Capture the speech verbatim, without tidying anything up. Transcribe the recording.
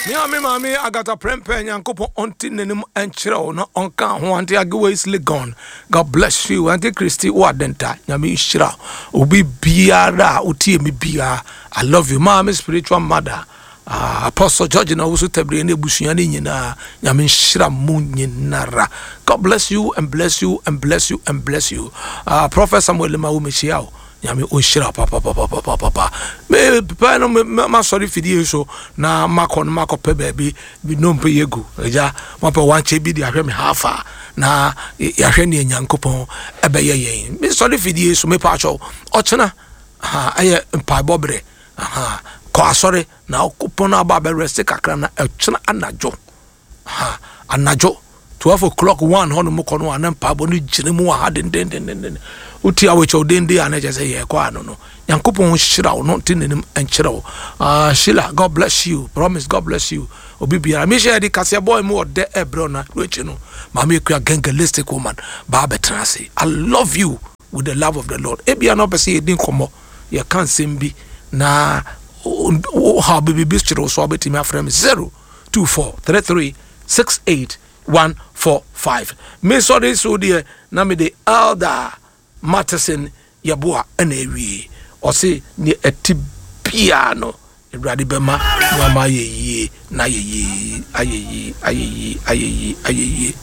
Me a me maame Agatha Prempeh, Nyankopɔn ɔnte n'anim nkyerɛ wo na ɔnka ho. Auntie Agewa is gone. God bless you. Auntie Christy wo adenta, Nyame nhyira wo. Obi biara a wotie me biara, I love you. Maame spiritual mother, uh, Apostle George na woso tabire ne abusua ne nyinaa, Nyame nhyira mo nyinara. God bless you and bless you and bless you and bless you. Uh, Prophet Samuel ma wo mehyia wo. Nyame ɔnhyira papapapapapa. Mepɛ no masɔre fidie so na makɔ no makɔpɛ baabi bi nnompe yɛ gu agya mapɛ wankyɛ bi de ahwɛ me hafa na yɛahwɛ neɛ Nyankopɔn ɛbɛyɛ yɛn. Mesɔre fidie so mepɛ akyɛw ɔkyena ɛyɛ mpaebɔ berɛ. Kɔ asɔre na ɔkopɔn no aba abɛrɛste kakra na ɛkyena anadwo anadwo twelve o'clock one hɔ nom kɔ no ana mpaebɔ no gyina mu wɔ ha dendendenden. Wotie awɔkyɛw denden a na kyerɛ sɛ yɛkɔ ano no. Nyankopɔn hyira wo no nte n'anim nkyerɛ wo. Uh, Sheila, God bless you. Promise, God bless you. Obi biara mehyɛ yɛde kaseɛ bɔɔ mu ɔdɛ ɛbrɛ na akyi no maame ekua gangalistic woman baa bɛtena ase. I love you with the love of the Lord. Ebia na ɔpɛ sɛ yɛdi nkɔmmɔ, yɛka nsɛm bi na ha biribi kyerɛ wo so a wobɛtumi afrɛ me zero two four three three six eight one four five. Me sɔre so deɛ na mede Elder Matheson Yɛboa ɛna awie. Ɔse ne ɛte biara no Awurade bɛma nneɛma ayɛ yie na ayɛ yie, ayɛ yie, ayɛ yie, ayɛ yie, ayɛ yie.